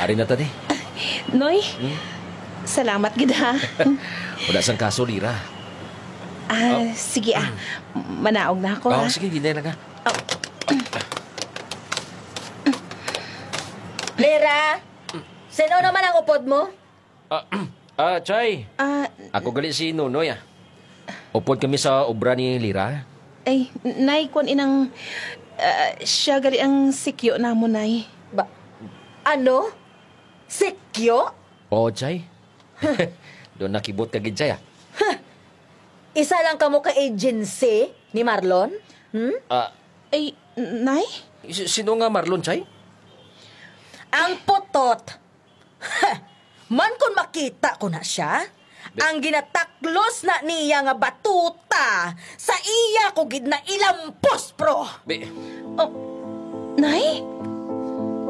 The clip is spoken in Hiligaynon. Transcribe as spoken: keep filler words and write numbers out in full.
Ari na ta, di. Noy, Hmm? salamat gid, ha. Wala sang kaso, Lira. Ah, Oh. sige, ah. Manaog na ako, Oh, ha. sige, hinay lang, ha. Lira, sino naman ang upod mo? Ah, ah, Chay. Ah, Ako gali si Nonoy, ah. Upod kami sa obra ni Lira. Ay, Nay, kwan inang, ah, siya gali ang sikyo namo, Nay. Ba, ano? Sikyo? Oo, Chay. Doon nakibot ka gid, Chay, ah. Isa lang kamo ka agency ni Marlon? Hmm? Ah, Ay, Nay? Si-, sino nga Marlon, Chay? Ang putot. Man kon makita ko na siya, Be- ang ginataklos na niya nga batuta, sa iya ko gid na ilampos, pro. Be- Oh, Nay?